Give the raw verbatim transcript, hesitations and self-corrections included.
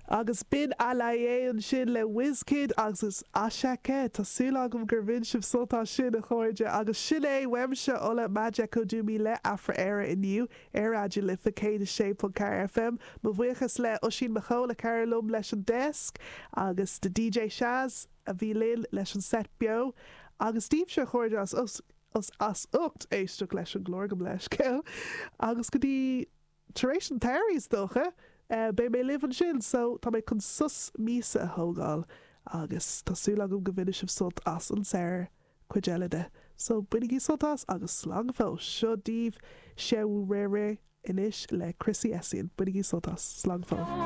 Agus b'in Alaye ansin le Wizkid agus Asake Tá súil agam gur bhain sibh sult as sin a chairde agus sin é uaimse Ola Majekodunmi le Afra-Éire inniu ar Raidió Life céad a sé ponc ceathair FM. Mo bhuíochas le Oisín Mac Cóil a chabhraigh liom leis an desk agus do DJ Shaz a bhí linn leis an set beo agus daoibhse a chairde as as as ucht éisteacht leis an gclár gabh mo leithscéal agus go dtí tar éis an tsamhraidh is dócha. Uh, Beidh mé libh ansin, so tá mé chun sos míosa a thógáil agus tá súil agam go mbainfidh sibh sult as an samhradh cuid eile de. So bainigí sult as agus slán go fóill seo daoibh Sewurere anois le Chrissy Essien, bainigí sult as slán go fóill.